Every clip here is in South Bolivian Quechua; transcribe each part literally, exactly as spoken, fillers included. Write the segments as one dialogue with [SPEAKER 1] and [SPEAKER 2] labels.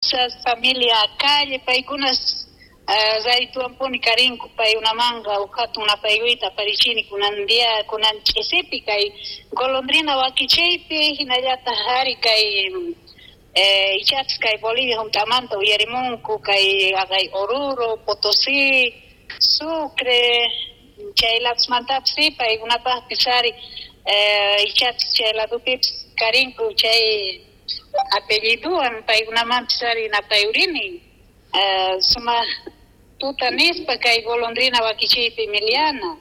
[SPEAKER 1] Familia calle paykunas raytuwanpuni karinku paykunamanqa uj hatun napaykuyta aparichini kunan día kunan ch'isipi kay golondrina wakichiypi hinallataq ari kay ichapis kay Bolivia hunt'amanta uyarimunku kay aqay Oruro, Potosí, Sucre chay ladosmantapis si paykunapaqpis ari ichapis chay ladopipis karinku chay apelliduwan paykunamanpis ari napayurini sumaq tuta nispa kay golondrina wakichiypi Emiliana.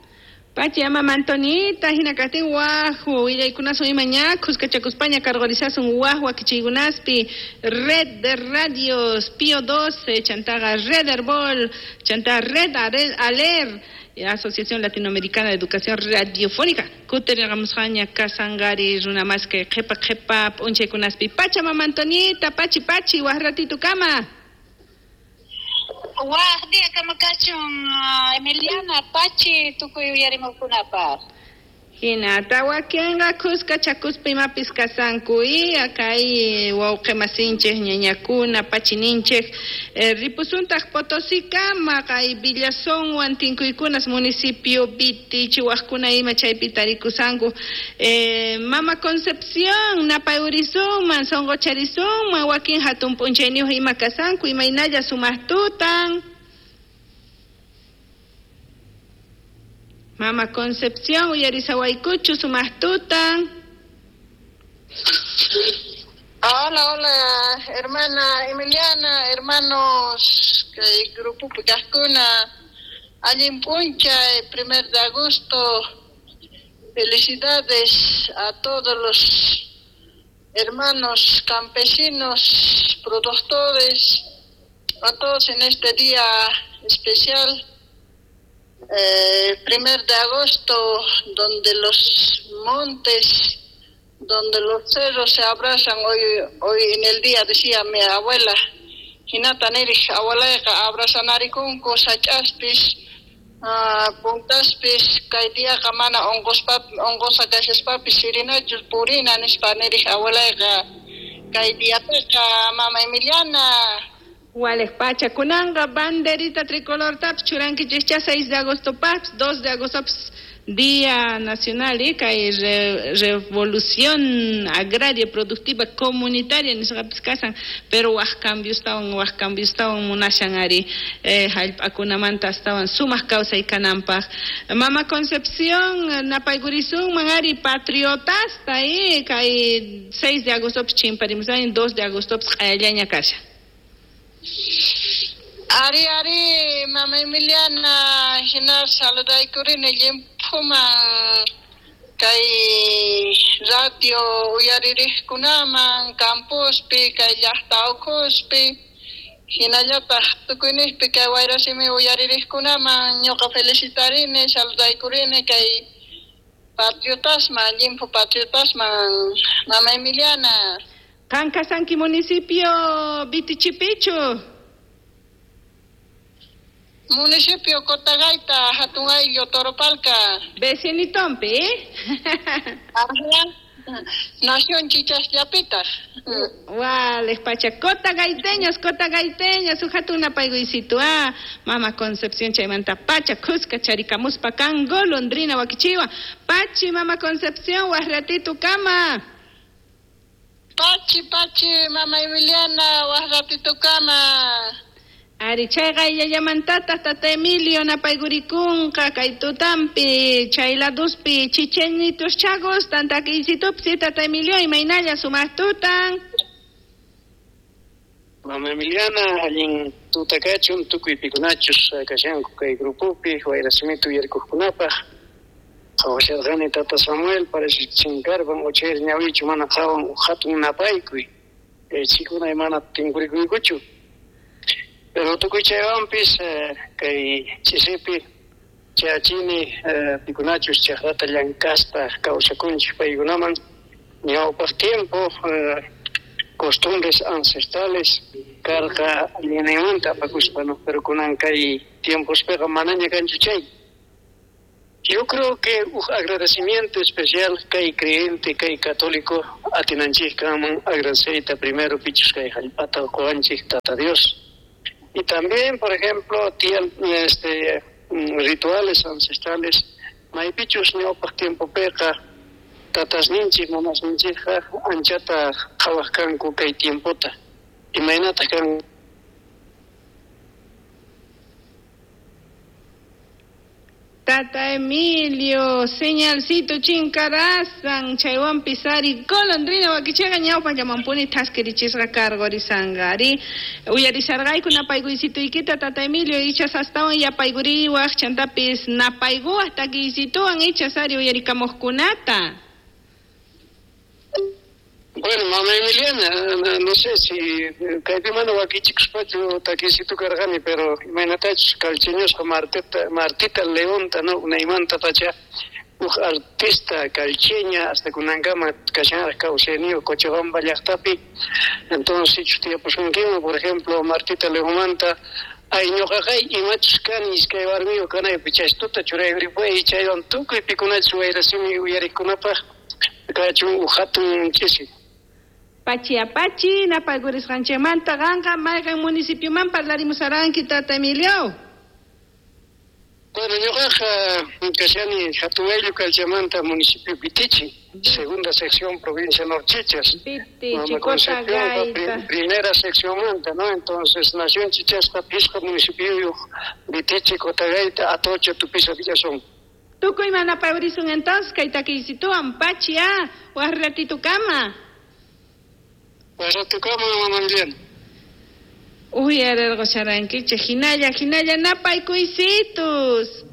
[SPEAKER 2] Pachi mama Antonita hina kaqtin waj willaykunasun ima ña khuskachakuspaña cargorizasun waj wakichiykunaspi Red de Radios Pío doce chantaqa Red Herbol chanta Red Aler Asociación Latinoamericana de Educación Radiofónica kutirqamusqaña kasangari runa mas kay qhipa qhipa p'unchaykunaspi. Pacha mama Antonita, pachi pachi waj ratito kama.
[SPEAKER 1] Waj día kama kachun Emiliana, pachi tukuy uyarimuqkunapaq.
[SPEAKER 2] Hinata wakinqa khuskachakuspa imapis kasanku y kay wawqi masinchik ñañakuna pachininchik ripusuntaq Potosíkama kay Villazónwan tinkuykunas municipio Viti wajkuna ima chaypi tarikusanku. Mama Concepción napayurisunman sonqocharisunman wakin hatun p'unchayniyuq ima kasanku imaynalla sumaq tutan. Mama Concepción, uyarisawaykuchu sumaq tutan.
[SPEAKER 3] Hola, hola, hermana Emiliana, hermanos, kay grupopi kaqkuna, allin p'unchay, primer de agosto, felicidades a todos los hermanos campesinos, productores, a todos en este día especial. Eh, primer de agosto, donde los montes, donde los cerros se abrazan hoy hoy en el día, decía mi abuela, hinata nirij abuelayqa abrazanarikunku sach'aspis, uh, puntaspis, kay diaqa mana onqospa onqosa kashaspapis sirinachus purina nispa nirij abuelayqa kay diapiqa mama Emiliana.
[SPEAKER 2] Wales pacha kunanqa banderita tricolor taps churankichikcha seis de agosto paps dos de agosto paps Día Nacional y kay re, Revolución Agraria Productiva Comunitaria nisqapis kasan pero waj cambios tawan waj cambios tawan munashan ari eh, hallp'akunamanta astawan sumaq kawsay kananpaq. Mama Concepción napaykurisunman ari patriotasta y kay seis de agosto paps chimparimusan dos de agosto paps q'ayallaña kashan.
[SPEAKER 3] Ari ari mama Emiliana hina saludaykurini llimphuman kay radio uyaririqkunaman campospi kay llaqta ukhuspi hinallataq tukuyniqpi kay wayrasimi uyaririqkunaman ñuqa felicitarini saludaykurini kay patriotasman llimphu patriotasman mama Emiliana.
[SPEAKER 2] Qan kasanki municipio Vitichipichu.
[SPEAKER 3] Municipio Cotagaita, hatun ayllu, Toropalca.
[SPEAKER 2] Vecinitompi, ¿eh?
[SPEAKER 3] Ajá. Nación Chichasllapita.
[SPEAKER 2] Wales pacha, cotagaiteños, cotagaiteños, hatun napaykuysitu, ah, mama Concepción chaymanta pacha, khuska charikamuspa kan golondrina wakichiwa. Pachi, mama Concepción, waj ratito kama.
[SPEAKER 3] Pachi, pachi, mama Emiliana, waj ratito kama.
[SPEAKER 2] Ari chayqa illallamantata tata Emilio napaykurikunqa kay tutampi chay laduspi chichenitos chagos tantakiysitupsi tata Emilio imaynalla sumaq tutan.
[SPEAKER 4] Mama Emiliana allin tuta kachun tukuy pikunachus kashanku kay grupopi wayrasimita uyarikuqkunapaq qhawasharqani tata Samuel parece chinkarpan uchayri ñawichu mana qhawan hatun napaykuy chikuna mana tinkurikuykuchu. Pero tukuy chaywanpis kay chisipi chachini pikunachus chaqrata llankaspa kawsakunchik paykunaman ñawpaq tiempo costumbres ancestrales karqa allinninmanta apakuspa no pero kunan kay tiempospiqa manaña kanchu chay. Yo creo que un agradecimiento especial kay creyente, kay católico atinanchik kanman agradeceyta primero pichus kay jallp'ata qowanchik Tata Dios. Y también, por ejemplo, tiyan este rituales ancestrales, maypichus ñawpaq tiempopiqa tatasninchik mamasninchikqa anchata qhawaq kanku kay tiempota. Imaynataq kan
[SPEAKER 2] Tata Emilio, señalcito chinkarazan, chaywanpis ari golondrina wakichaqa ñawpa llamampuni thaskirichisqa karqurisanqa ari uyarisharqayku napaykuysituykita Tata Emilio ichas astawan yapaykuriwaq chantapis napaykuwaq takiysituwan ichas ari uyarikamuqkunata.
[SPEAKER 4] Bueno, mamá Emiliana, no sé si kaypi mana wakichikuspachu takiysitu karqani, pero imaynatachus calcheñosqa Martita, Martita Leonta, no, unaymanta pacha uj artista calcheña hasta kunankama kashanraq kawsayniyuq Cochabamba llaqtapi. Entonces sichus tiyapusunkiman, por ejemplo, Martita Leonmanta, ay ñuqaqay imachus kani iskay warmiyuq kanaypi chaystuta churaykuripuy chaywan tukuy pikunachus wayrasimi uyariqkunapaq kachun uj hatun ch'isi.
[SPEAKER 2] Pachi apachi, napaykurisqanchikmanta qanqa mayqan municipioman parlarimusaranki Tata Emilio?
[SPEAKER 4] Bueno, ñuqaqa kashani Hatun Ayllu Calchamanta municipio Vitichi, segunda sección provincia Norchichas.
[SPEAKER 2] Vitichi, Cotagaita.
[SPEAKER 4] Primera sección manta, ¿no? Entonces, nación Chichasqa pisqa municipio Vitichi, Cotagaita, Atocha, Tupiza, Villazón.
[SPEAKER 2] Tukuy manapayurisun entonces kay takiysituwan pachi a waj ratitukama.
[SPEAKER 4] Waj ratukama, mamá Emiliana.
[SPEAKER 2] Uyarerqusharankichik hinalla hinalla napaykuysitus.